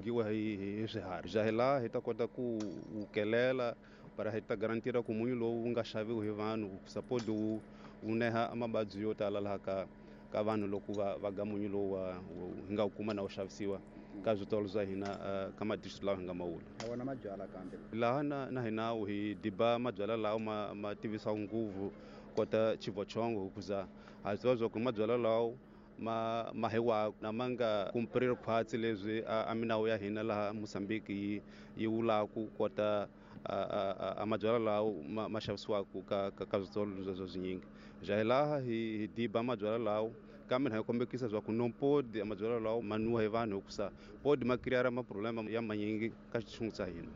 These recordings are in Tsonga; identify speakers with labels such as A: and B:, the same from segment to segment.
A: dyiwa hi swiharhi. Ja hi laha hi ta kota ku wu kelela para hi ta garantira ku munyu lowu wu nga xaviwi hi vanhu suppose wu neha mavabyi yo tala laha ka vanhu loko va ga munyu lowu hi nga wu kuma na wu xavisiwa ka switolo swa hina ka madistrict lawa hi nga mawula.
B: A wona mabyala kambe
A: laha na hina hi diba mabyala lawa ma tivisaka nguvu kota chivochongo hikuza ha swi tiva swa ku mabyala lawa ma hiwa na ma nga kumpriri khwatsi leswi a minawu ya hina laha Mozambique yi vulaku kota a mabyala lawa ma xavisiwaka ka switolo sweswo swinyingi. Ja hi laha hi diba mabyala lawa kambe hi kombekisa swa ku no podi mabyala lawa ma nwiwa hi vanhu hikusa podi ma create ma problema ya manyingi ka xitshungu xa hina.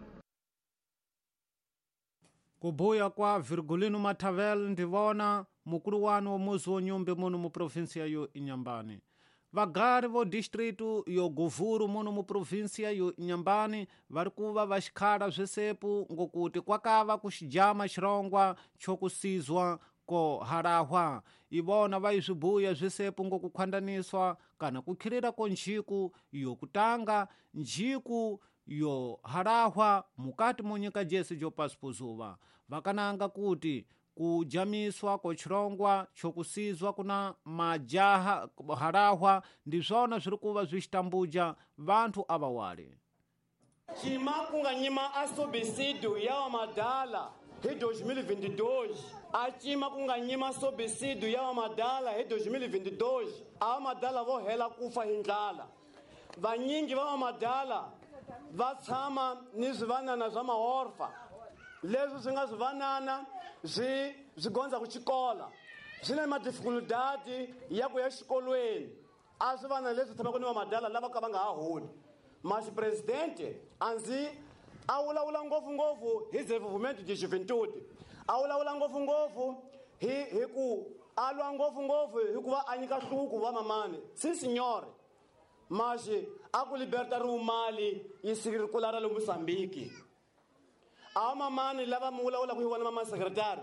C: Kubuya kwa Virgulino Mathavel ndivona mukulu wanu wa muzi wa Nyumbi muno mu provinsia yo Inhambane. Vagari vo distrito yo Govuro muno mu provinsia yo Inhambane vari kuva vaxikhala swisepu ngokuti kwakava kuxijama xirongwa xokusizwa ko harahwa. Ivona va swibuya swisepu ngokukhwandaniswa kana kukhirira ko njiku yo kutanga njiku yo harahwa mukati monyika jesi jo pasipozuva. Vakananga kuti kujamiswa ko chirongwa chokusizwa kuna majaha harahwa ndizvona zviri kuva zvichitambuja vanthu avawali.
D: Chima kunganyima a subsídio ya vamadala hi 2022. A chima kunganyima subsídio ya vamadala hi 2022. A vamadala vo hela kufa hi ndlala. Vanyingi va vamadala va tshama ni swivanana swa maorfa leswi swi nga swivanana swi gondza ku xikola swi na madifikultati ya ku ya xikolweni. A swi vana leswi tshamaka ni vamadala lava ka va nga ha holi. Mas presidente anzi a vulavula ngopfungopfu hi desenvolvimento de juventude, a vulavula ngopfungopfu hi ku a lwa ngopfungopfu hi ku va a nyika hluku va mamani si signore. Mas a ku liberta ri mali yi sirikula ra le Mozambique. A mamani lava mi vulavulaka hi vona mama secretary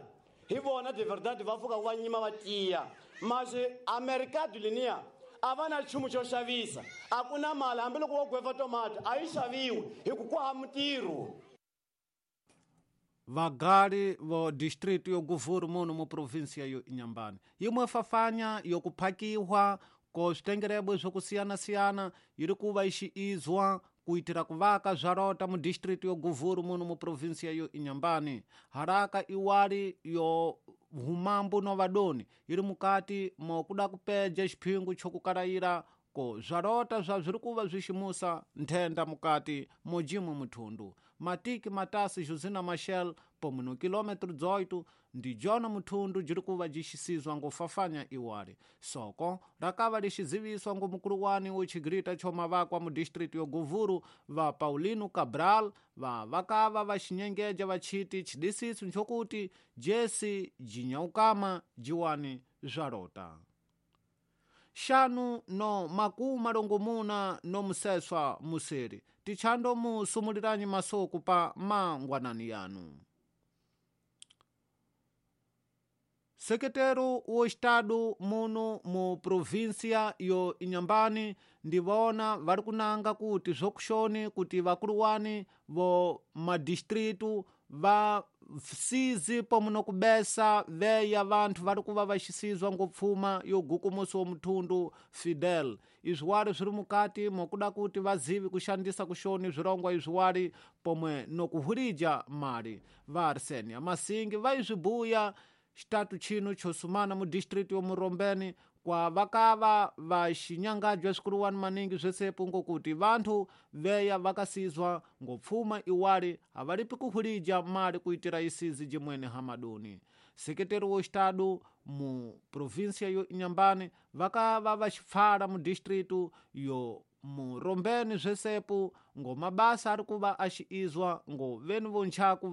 D: hi vona de verdade va pfuka va nyima va tiya. Mas a mercado linia a va na nchumu xo xavisa, a ku na mali hambiloko wo gweva tomato a yi xaviwi hi ku ku hava mitirho.
C: Vagali vo distrito yo Govuro muno mu provinsia yo Inhambane yimwe fafanya yokuphakiwa ko switengerebwe swokusiyana-siyana yiri kuva ixiizwa kuitira kuvaka zvarota mu distrito yo Govuro muno mu provinsia yo Inhambane. Haraka iwali yo humambu no vadoni yiri mukati mokuda kupeja xiphingu chokukalayira ko zvarota zva zviri kuva zviximusa nthenda mukati mojimwe muthundu. Matiki matasi Josina Machel pomwe no kilômetro 18 ndi jona muthundu jiri kuva jixisizwa ngofafanya iwali. Soko rakava lixiziviswa ngo mukuluwani wo xigrita chomavakwa mu distrito yo Govuro va Paulino Cabral va vakava va xinyengeja va chiti xidisiso nchokuti jesi jinyaukama jiwani zvarota. Xanu no makuma longomuna no museswa museri tichando musumuliranyi masoko pa mangwanani yanu. Sekretero wo estado muno mu província yo Inhambane ndivona vari kunanga kuti zvokushoni kuti vakuluwani vo madistritu va sizi pomwe nokubesa veya vanthu vari kuva vaxisizwa ngopfuma yo gukumusi wa muthundu Fidel. Izwiwali swiri mukati mokuda kuti vazivi kuxandisa kuxoni swirongwa izwiwali pomwe nokuhurija mali. Va Arsenia Masingi va izwibuya xitatu chino xosumana mu district yo Murombeni kwa vakava va xinyangajwa swikuluwani maningi swesepu ngokuti vanthu veya vakasizwa ngopfuma iwali avalipi kuhulija mali kuitira isizi jimwene hamaduni. Sekretari wo estado mu província yo Inhambane vakava vaxipfala mu distritu yo Murombeni swesepu ngo mabasa ari kuva axiizwa ngo veni vonchaku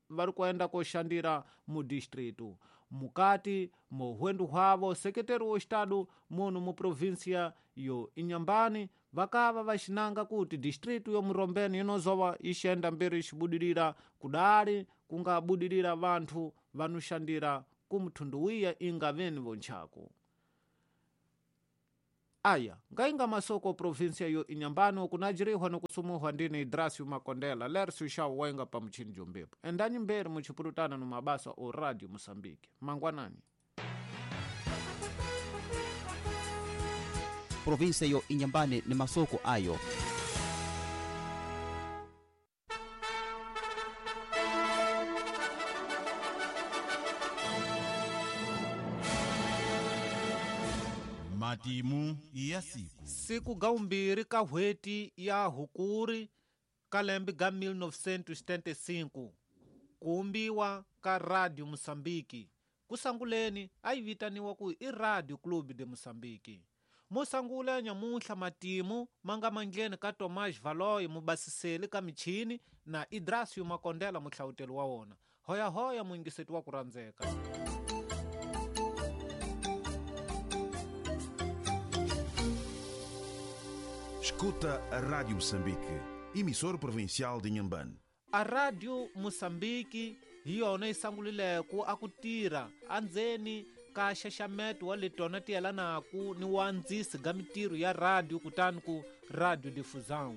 C: vari kuenda koxandira mu distritu. Mukati mohwendu hwavo sekretari wo estado muno mu província yo Inhambane vakava vaxinanga kuti distritu yo Murombeni inozowa ixenda mbiri xibudirira kudali kungabudirira vanthu vanoxandira kumthundu wiya inga veni vonchaku. Aya ngainga masoko provinsia yo Inhambane kunajirihwa nokusumuhwa ndini Idrasio Makondela Lercio Shaw wainga pa muchini jombepo endanyi mberi muchipurutana no mabasa o Radio Moçambique. Mangwanani.
B: Provinsia yo Inhambane ni masoko ayo.
E: Matimu ya siku.
C: Siku gaumbiri ka hweti ya Hukuri ka lembe ga 1975 kuumbiwa ka Radio Moçambique. Kusanguleni ayi vitaniwa ku i Radio Clube de Moçambique. Musangula nyamuhla matimu manga mandleni ka Tomás Valoy mubasiseli ka michini na Idrasio Makondela muhlawuteli wa wona. Hoya hoya muingiseti wa kurandzeka.
E: Escuta a Rádio Moçambique, emissora provincial de Inhambane.
C: A Rádio Moçambique hi yona yi sangulileko a ku tirha andzeni ka xaxameto wa letona ti yelanaku ni wa ndzisi ga mitirho ya radio kutani ku Radio Difusão.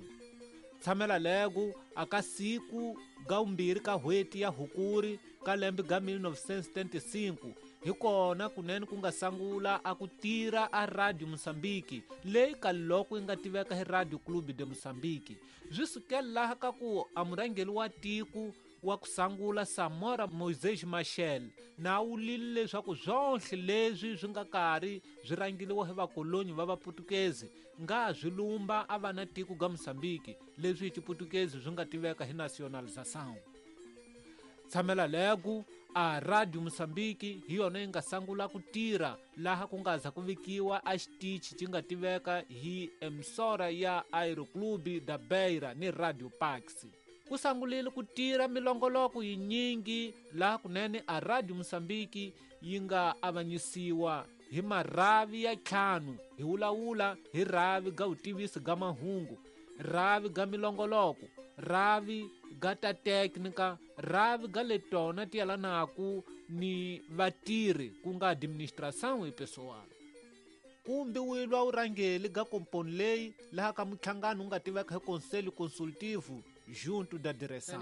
C: Tshamela lego aka siku ga umbirhi ka hweti ya Hukuri ka lembe ga 1975 hi kona kunene ku nga sangula a ku tirha a Radio Moçambique leyi ka loko yi nga tiveka hi Radio Clube de Moçambique. Swi sukela laha ka ku a murhangeri wa tiko wa ku sangula Samora Moisés Machel na wulile leswaku swonhle leswi swi nga karhi swi rhangeriwa hi vakolonyi va vaputukezi nga swi lumba a va na tiko ga Moçambique leswi hi xiputukezi swi nga tiveka hi nationalização. Tshamela lego a Radio Moçambique hi yona yi nga sangula ku tirha laha ku nga za ku vikiwa a xitichi xi nga tiveka hi emissora ya Aeroclube da Beira ni Radio Pax. Ku sangulile ku tirha milongoloko yinyingi laha kunene a Radio Moçambique yi nga avanyisiwa hi marhavi ya 5 hi wulawula hi rhavi ga vutivisi ga mahungu, rhavi ga milongoloko, rhavi ga ta teknika, rhavi ga letona ti yelanaku ni vatirhi ku nga administração e pessoal. Kumbiwilwa urhangeli ga komponi leyi laha ka muhlangano wu nga tiveka hi Conselho Consultivo junto da direção.